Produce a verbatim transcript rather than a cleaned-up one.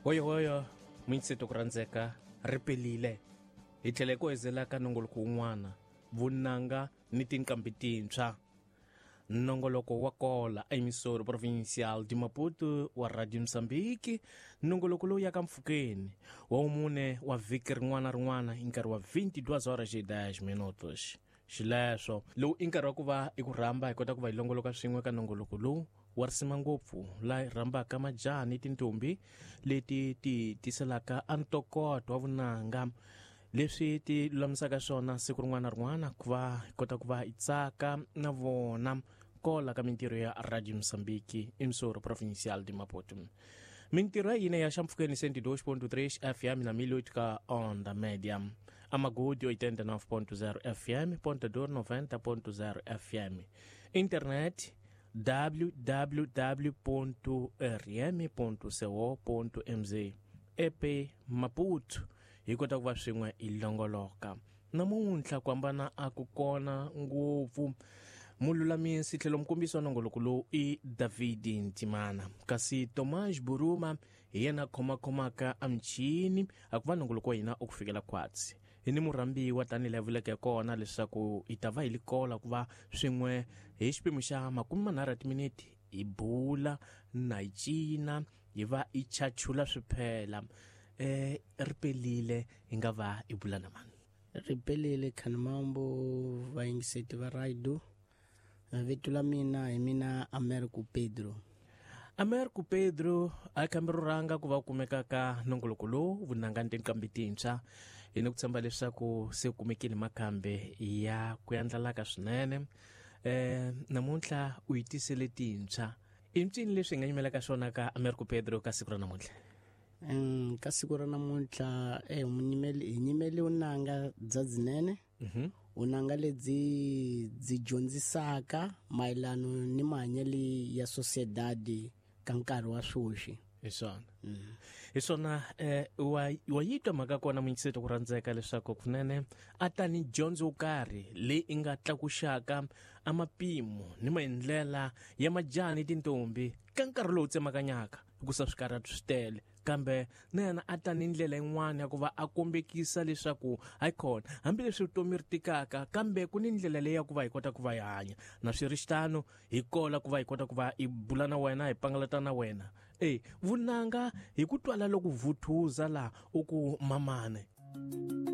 Hoyohoyo munyitseto ku rhandzeka ri pelile hi tlhela hi ku hezela ka nongoloko wun'wana vunanga ni tinqambi tintshwa. Nongoloko wa kola emissora provincial de Maputo wa Radio Mozambique, nongoloko lowu yaka mpfhukeni wa wumune wa vhiki rin'wana rin'wana hi nkarhi wa vinte e duas horas e dez minutos. Xileswo lowu i nkarhi wa ku va i ku rhamba hi kota ku va hi longoloka swin'we ka nongoloko lowu wa risima ngopfu laha hi rhambaka majaha ni tintombi leti ti tiselaka a ntokoto wa vunanga leswi ti lulamisaka swona siku rin'wana na rin'wana ku va hi kota ku va hi tsaka na vona kola ka mintirho ya Radio Mozambique, emissora provincial de Maputo. Mintirho ya hina ya xampfhukeni cento e dois ponto três F M na mil e oito ka onda média, Amagodi oitenta e nove ponto zero F M, Ponta Dor noventa ponto zero F M, internet w w w ponto r m ponto co ponto m z E P Maputo. Hi kota ku va swin'we hi longoloka namuntlha ku hambana a ku kona ngopfu. Mululamisi tlhelo mukombisi wa nongoloko lowu i David Ntimana, kasi Tomas Buruma hi yena khomakhomaka a michini a ku va nongoloko wa hina u ku fikela khwatsi. Hi ni murhambiwa tanihi laha vuleke kona leswaku hi ta va hi likola ku va swin'we hi xipimo xa makume manharhu ya timinete hi bula na hi cina hi va hi chachula swiphela. eh ri pelile hi nga va hi bula na mani? Ripelile Khanimambo, vayingiseti va radio. Vito la mina hi mina Americo Pedro. Americo Pedro, a khambi ro rhanga ku va kumeka ka nongoloko lowu vunanga ni tinqambi tintshwa. Hi ni ku tshemba leswaku se kumekile makhambi ya ku yandlalaka swinene. eh namuntlha u yi tisele tintshwa, i mpfini leswi hi nga yimelaka swona ka Americo Pedro ka siku ra namuntlha? Mm, ka siku ra namuntlha eh munyimeli hi nyimeli vunanga bya byinene, Mhm. vunanga lebyi byi dyondzisaka mayelano ni mahanyelo ya sociedade ka nkarhi wa sweswi. Hi swona, hi swona. eh wa wa yi twa mhaka kona munyikiseti ku rhandzeka leswaku kunene a ta ni dyondzo yo karhi leyi i nga tlakuxaka a mapimo ni maendlela ya majaha ni tintombi ka nkarhi lowu tsemakanyaka, hikusa swikarhati swi tele, kambe na yena a ta ni ndlela yin'wana ya ku va a kombekisa leswaku hayikhona hambileswi vutomi ri tikaka, kambe ku ni ndlela leyi ya ku va hi kota ku va hi hanya na swi ri xitano. Hi kola ku va hi kota ku va hi bula na wena, hi pangalata na wena e vunanga hi ku twala loko vhuthuza laha u ku mamane.